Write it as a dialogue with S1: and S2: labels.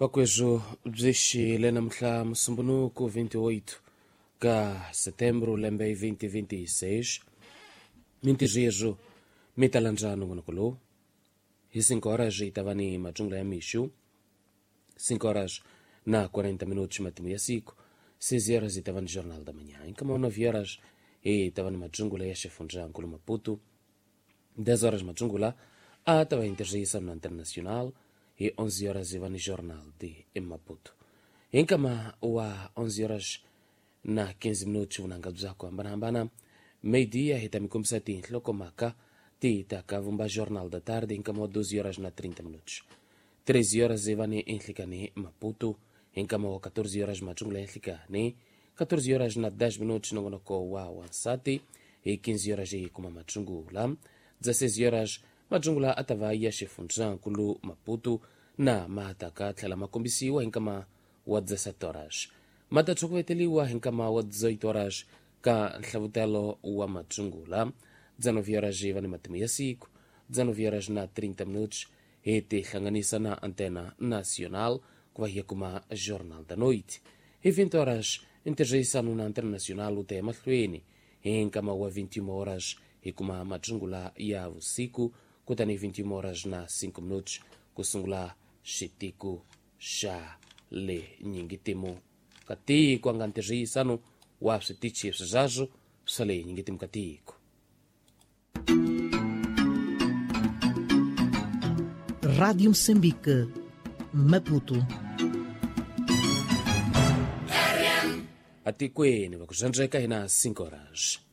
S1: Vakwezvo byi xile namuntlha musumbunuku 28 ka setembro lembe 2026. Mintirho mi ta landza nongonoko lowu hi 5 horas yi ta va ni matsungula ya mixu, 5 horas na 40 minutos matimu ya siku, 6 horas yi ta va ni Jornal da Manhã, nkama 9 horas yi ta va ni matsungula ya xifundzankulu Maputo, 10 horas matsungula a ta va intirhisano na Internacional, hi 11 horas yi va ni Jornal de Maputo. Hi nkama wa 11 horas na 15 minutos vunanga bya ku hambanahambana, meio-dia hi ta mi kombisa tinhlokomhaka ti ta ka vumba Jornal da Tarde, nkama wa 12 horas na 30 minutos. 13 horas hi va ni Enhlikani Maputo, hi nkama wa 14 horas matsungula ya nhlikani, 14 horas na 10 minutos nongonoko wa wansati, hi 15 horas hi kuma matsungula, 16 horas matsungula a ta va ya xifundzankulu Maputo na ma ta ka tlhela ma kombisiwa hi nkama wa 17 horas, ma ta tshokoveteliwa hi nkama wa 18 horas ka nhlavutelo wa matsungula. 19 horas hi va ni matimu ya siku, 19 horas na 30 minutos hi tihlanganisa na Antena Nacional ku va hi ya kuma Jornal da Noite. Hi 20 horas ntirhisano na Antena Nacional wu ta ya mahlweni, hi nkama wa 21 horas hi kuma matsungula ya vusiku, kutani 21 horas na 5 minutos ku sungula xitiko xa le nyingitimu ka tiko, a nga ntirhisano wa switichi swizazwo swa le nyingitimu ka tiko.
S2: Rádio Moçambique, Maputo.
S1: Atikweni va ku zandreka hina 5 horas.